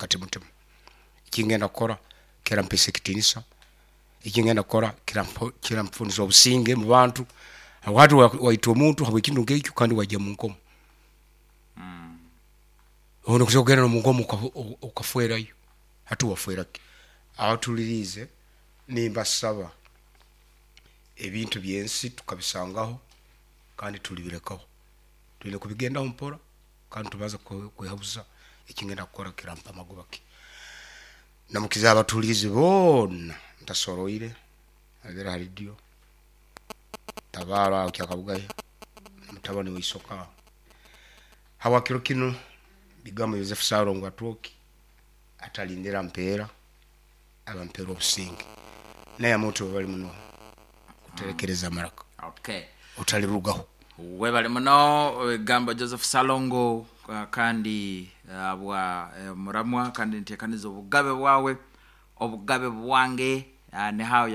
Kati mutima ekingenda kukora kirampesa ekitinisa, ekingenda kukora kiranfunisa obusinge mubantu, habwokuba hati waita omuntu habwekintu nkekyo kandi wajya munkomo, obundi nosobora kugenda nomunkomo okafwerayo, hati wafweraki? Abatulirize nimbasaba, ebintu byensi tukabisangaho kandi tulibirekaho, tuyina kubigendaho mpora kandi tubanze kwekaguza ekingenda kukora kirampa magoba ki. Namukize abatulize boona ntasoroire, abere ha radio, Tabaro aho Kyakabugahe, mutabani wa Isoka. Habwa kiro kinu, bigambo Yosefu Ssalongo Atwoki atalindira mpeera, abampera obusinge. Naye amuntu bali muno kuterekereza amaraka. Otalirugaho. Webale muno ebigambo Joseph Ssalongo, kandi habwa muramwa, kandi ntekaniza obugabe bwawe, obugabe bwange, nihawe.